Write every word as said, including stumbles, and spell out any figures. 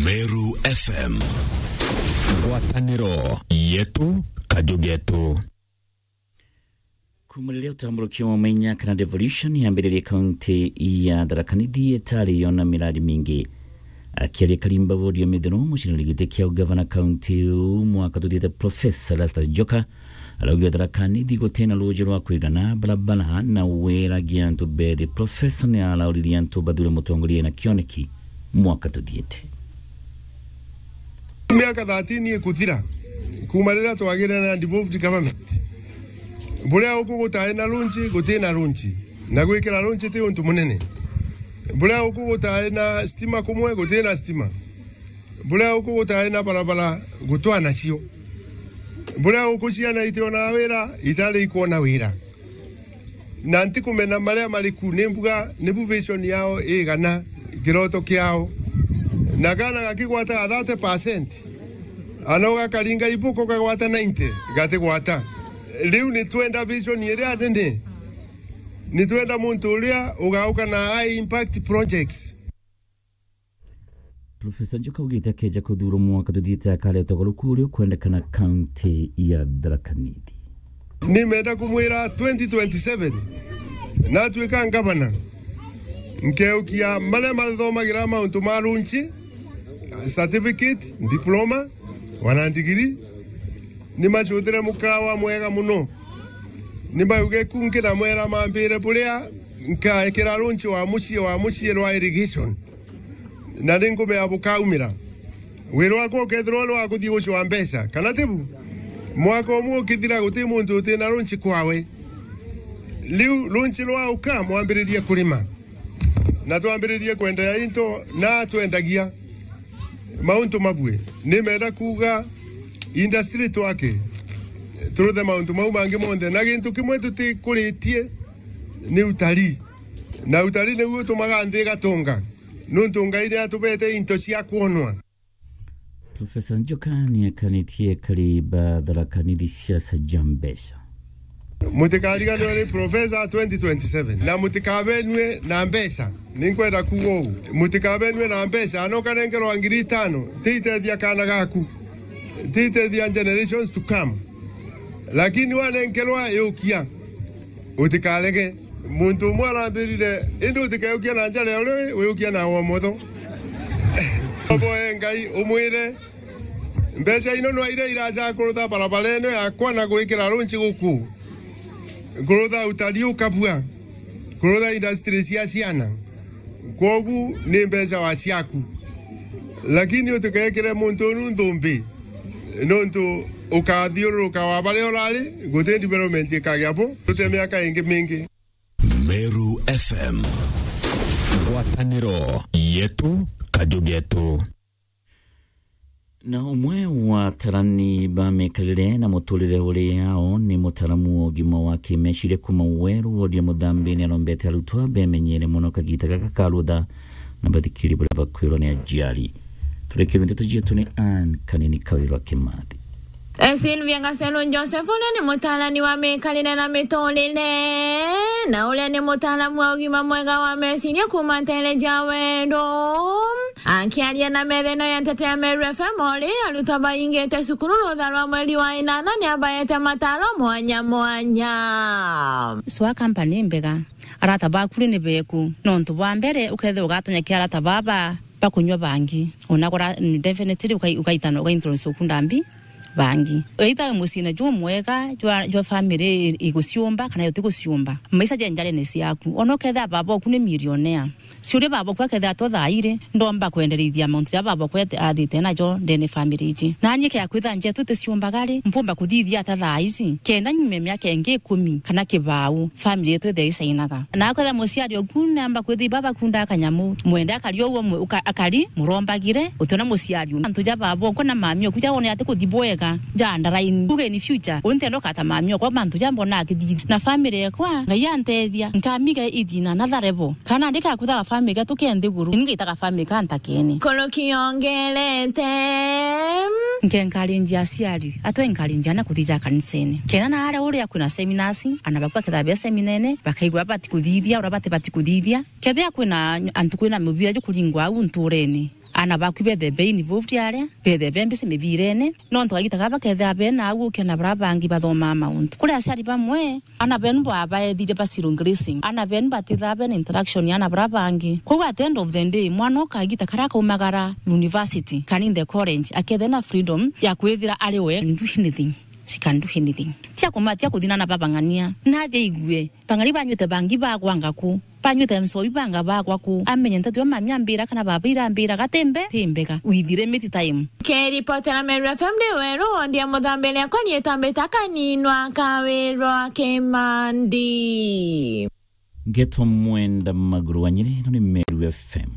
Meru F M. Ngwataniro yetu, kaju getu. Kuma riria utamburukia mumenya kana devolution yambiririe kaunti ya Tharaka Nithi itari yona miradi mingi. Akiaria Karimba Wodi ya Mithiro, mucinari giti kia ugavana kaunti iu mwaka tuthiite, Professor Erastus Njoka araugire Tharaka Nithi gutina ruuji rwa kwigana, barabara na wira gia antu bethi. Professor ni arauririe antu bathure mutongoria na kioneki mwaka tuthiite. Miaka thirteen ikuthira kuma riria twagire na devolved government. Buria uku gutae na lunch, gutina lunch. Na gwikira lunch ti untu munene. Buria uku gutae na stima kumwe, gutina stima. Buria uku gutae na barabara, gutwa nacio. Buria uku ciana itiona wira, itari ikwona wira. Na ntikumena maria mari ku, ni mbuga nibu vision yao igana, kiroto kiao. Na kana gakigwataga thirty percent, ana ugakaringa ibuko kagwata ninety, gatigwata. Riu nitwenda vision iria nene. Nitwenda muntu uria ugauka na high impact projects. Professor Njoka augite akeja kuthurwa mwaka tuthiite akaretwa garuku uria ukwendekana kaunti ya Tharaka Nithi. Nimenda kumwira twenty twenty-seven, natuika ngavana, nkeukia maria mathomagira mauntu ma lunch, certificate, diploma, wana ndigiri, nimacutire mukawa mwega muno. Nimauge ku nkinamwera mambire buria nkaekera lunch wa mucii, wa mucii rwa irrigation. Na ni nkumea bukaumira. Wira wakwa ukethirwa uri wa kuthii gucwa mbeca, kana tibu? Mwaka umwe ukithira, guti muntu utina lunch kwawe. Riu lunch rwauka, mwambiririe kurima. Na twambiririe kwenderea into na twendagia mauntu mabue. Nimenda kuuga industry twake, turuthe mauntu mau mangi monthe. Na gintu kimwe tutikuritie ni utalii. Na utalii niguo utumaga nthi igatonga, nuntu Ngai ni atubete into cia kwonwa. Professor Njoka ni akanitie kari ba Tharaka Nithi siasa ja mbeca. Mutikariganirwe ni Professor twenty twenty-seven, na mutikabenue na mbeca. Ninkwenda kuuga uu, mutikabenue na mbeca. Ana ukanenkerwa ngiri itano, tiitethia kana gaku, tiitethia generations to come. Lakini wanenkerwa, yukia, utikarege. Muntu umwe arambirire, indi utikeukia na njara ya urio wiyukia na wa umotho. Oboe Ngai, umwire, mbeca ino nwa iria iraja kurutha barabara ino yakwa na gwikira lunch guku, kurutha utalii ukabua, kurutha industry cia ciana. Kwogu ni mbeca wa ciaku. Lakini utikekire muntu unu nthumbi, nontu ukathiururuka wa baria urari, guti development ikagia bo, tute miaka ingi mingi. Meru F M. Ngwataniro yetu, kaju getu. Na umwe wa atarani ba mikarire na muturire uri yao ni mutaramu wa ugima wa kimeciria kuma Weru, wodi ya Muthambi, ni arombete arutwa bemenyere mono kagita gaka ka rutha na bathikiri baria bakwirwa ni ajiari. Turekere ndeto cietu ni Ann Kanini Kawirwa Kimathi. Sylvia Ngaselu Joseph, uria ni mutaarani wa miikarire na miturire, na uria ni mutaaramu wa ugima mwega wa meciria kuuma nteere ja Weru. Akiaria na metheno ya Nteto ya Meru F M ori, arutwa baingite cukuru rutha rwa mweri wa inana ni abaete mataaro mwanya mwanya. Swa company mbega, arata baku ri ni beku? Nontu bwa mbere, ukethirwa ugatonya kia arata baba bakunywa bangi. Ona kora, definitely ukai-, ukaitana, ukaintroduce uku ndambi bangi. Either muciine jumwega jwa, jwa family i-, iguciumba kana yutiguciumba. Maisha ja njarene ciaku. Ona ukethira baba oku ni millionaire. Ciuria baba oku akethira to thaa iri, ndomba kwenderithia mauntu ja baba oku ete-, athite najo ndene family iji. Nani kea kwitha njetu ticiumbaga ri, mpumba kuthithia ata thaa ici? Kenda nyume miaka ingi ikumi kana kibau, family yetu ithe icainaga. Na akwetha muciari oku namba kwithia baba kunda kanyamu, mwende akari o uo mwe-, uka-, akari murombagire, utiona muciari u. Antu ja baba oku na mami oku ja wone ati kuthi bwega, ja ndaraini. Uge in future, untendo kata mami okwa mantu ja mbona akithithia. Na family ekwa, Ngai antethia, nkamiga ithina na tharebo. Kana ndika kuthaga family ga tuke nthiguru, ningaitaga family ka ntakene. Koroki yongerete. Nke encourage aciari, atwe encourage ana kuthija kanisene. Kena na aria uria kwina seminars, ana bakwa ketha bia seminene, bakaigua bati kuthithia, uria bati bati kuthithia. Kethia kwina antu kwina mubira jukuringwa au nturene. Ana baku bethe be involved aria, bethe be mbici mibirene. Nontu kagita gaba kethira bena au ukiona bara bangi bathomaa mauntu. Kuri aciari bamwe, ana benu babaethire ba zero grazing. Ana benu batithaa bena interaction ya ana bara bangi. Koguo at the end of the day, mwana ukagita kara kaumagara university, kana in the college, akethira na freedom ya kwithira ari we can do anything. She can do anything. Tia kumatia kuthina na babang'ania. Nathi aigue. Bang'ani banywite bangi bagwanga ku. Banywite nsobi banga bagwa ku. Amenye nteto ya mami ambira kana baba irambira gatembe, timbega. With limited time. Keripotera Meru F M ndi weru, wondia muthambire akwa nietambite akaninwa kawirwa kimandi. Ngeto mwenda maguru wa Nyeri, no ni Meru F M.